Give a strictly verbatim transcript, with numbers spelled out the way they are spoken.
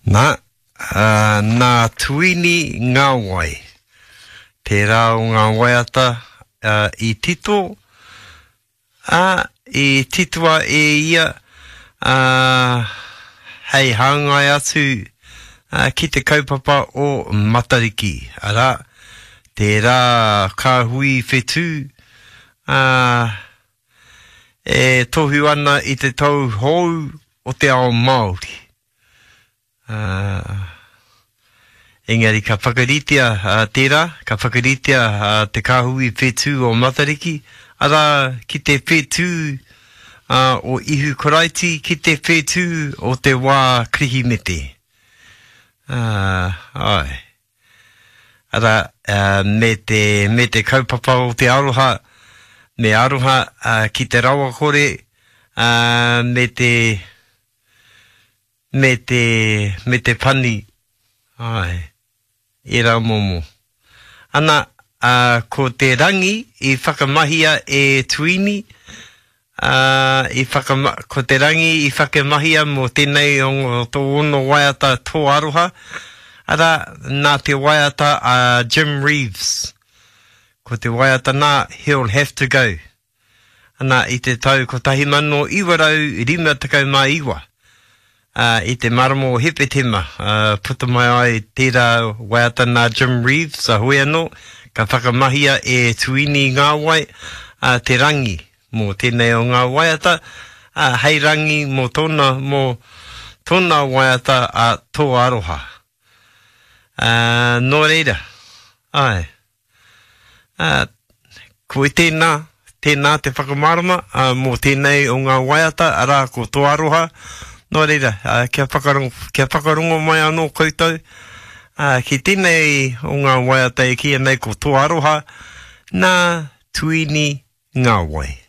Nā, ā, nā Tuini Ngāwai. Tērā o ngā waiata ā, i tito, ā, i titoa e ia ā, hei hāngai atu ā, ki te kaupapa o Matariki, arā, tērā kāhui whetū ā, e tohu ana i te tau hou o te ao Māori. Ā, engari ka whakaritea ā, tērā, ka whakaritea ā, te kāhui whetū o Matariki, arā, ki te whetū ā, o Ihu Karaiti, ki te whetū o te wā Kirihimete. Ā, āe. Arā, ā, me te, me te kaupapa o te aroha, me aroha ā, ki te rawakore, ā, me te, me te, me te pani, āe, ērā momo. Ana, ā, ko te rangi i whakamahia e Tuini, ā, i whakama, ko te rangi i whakamahia mō tēnei o tōna waiata Tō Aroha, arā, nā te waiata a Jim Reeves. Ko te waiata nā, He'll Have to Go. Ana, i te tau kotahi mano iwa rau rima tekau mā iwa, ā, i te marama o Hepetema, ā, puta mai ai tērā waiata nā Jim Reeves, a hoi anō, ka whakamahia e Tuini Ngāwai, ā, te rangi mō tēnei o ngā waiata, ā, hei rangi mō tōna, mō tōna waiata a Tō Aroha. Ā, nō reira, āe. Ā, ko tēnā, tēnā te whakamārama ā, mō tēnei o ngā waiata, arā, ko Tō Aroha. Nō reira, ā, kia whakarongo, kia whakarongo mai anō koutou ā, ki tēnei o ngā waiata e kīia nei ko Tō Aroha, nā Tuini Ngāwai.